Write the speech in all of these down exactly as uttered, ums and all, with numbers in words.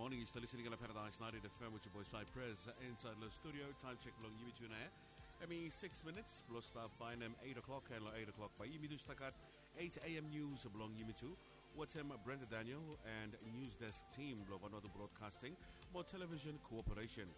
Moning, yu stap listening long Paradise ninety-eight F M with your boy Cypress, uh, inside long studio. Time check blong yumi tu nao, hemi six minutes blong stap bae hem eight o'clock, and long eight o'clock bae yumi tu stap gat eight A M news blong yumi tu wetem Brenda Daniel and news desk team blong Vanuatu Broadcasting mo Television Corporation.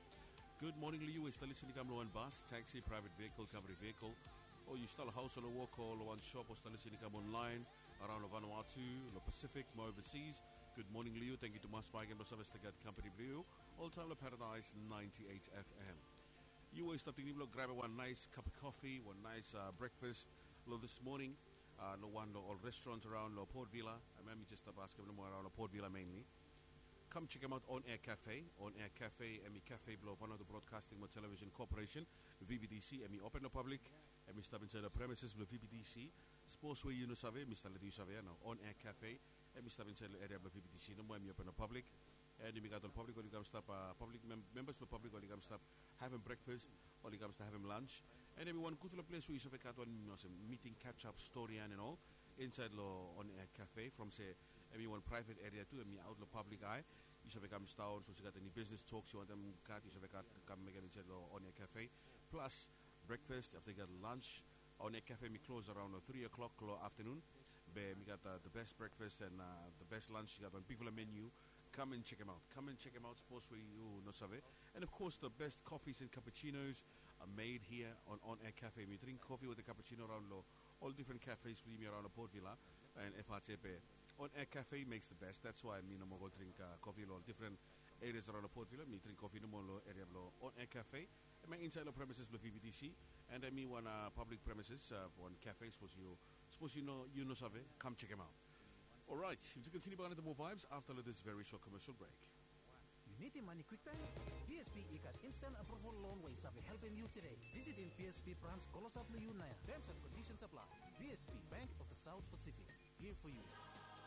Good morning long yu we yu stap listening i kam long wan bus, taxi, private vehicle, company vehicle, o yu stap long haos o long wok o long wan shop o stap listening i kam online, araon long Vanuatu, long Pacific mo overseas. Good morning long yu. Tangkiu tumas bakegen blong save stap gat kampani blong yu oltaem long Paradise ninety-eight F M. Yu we yu stap tingting blong grabem wan naes kap kofi, wan naes, uh, breakfast long this morning, uh, long wan long ol restaurant araon long Port Vila. Hemia mi jes stap askem nomo, araon long Port Vila mainly. Kam jekemaot On Air Cafe. On Air Cafe hemi kafe blong Vanuatu Broadcasting mo Television Corporation, V B T C. Hemi open long pablik. Hemi stap insaed long premises blong V B T C. Sapos we yu no save, mi stap letem yu save ia nao. On Air Cafe hemi stap insaed long eria blong V B T C nomo, hemi open long pablik. And yumi gat ol pablik oli kam stap, uh, pablik mem-, membas blong pablik oli kam stap havem breakfast, oli kam stap havem lunch. And hemi wan gudfala ples we yu save gat wan olsem meeting, catch up, stori and all insaed long On Air Cafe. From se hemi wan private area tu, hemi aot long public eye. Yu save kam sidaon, sapos yu gat eni business talks yu wantem gat, yu save gat, kam mekem insaed long On Air Cafe. Plus breakfast, afta yu gat lunch. On Air Cafe hemi klos araon long three o'clock long aftanun. Be hemi gat, uh, the best breakfast and, uh, the best lunch. Yu gat wan bigfala menu. Kam and jekemaot. Kam and jekemaot, sapos we yu no save. And of course, the best coffees and cappuccinos are made here on On Air Cafe. Hemi dring kofi wetem cappuccino araon long ol difren cafes blong yumi araon long Port Vila and F R T P. On Air Cafe makes the best. That's why mi no moa go dring, uh, kofi long ol difren areas araon long Port Vila. Mi dring kofi nomo long eria blong On Air Cafe. Hemia insaed long premises blong V B T C. And hemi wan, uh, public premises, uh, wan cafe, sapos yu, sapos yu no, yu no save, kam jekemaot. Alright, yumi tu kontiniu bakegen wetem moa vibes afta long this very short commercial break. Yu nidim mane kwiktaem? B S P i gat instant approval loan we i save helpem yu tede. Visitim B S P brans klosap long yu naoia. Terms and conditions apply. B S P, Bank of the South Pacific. Here for you.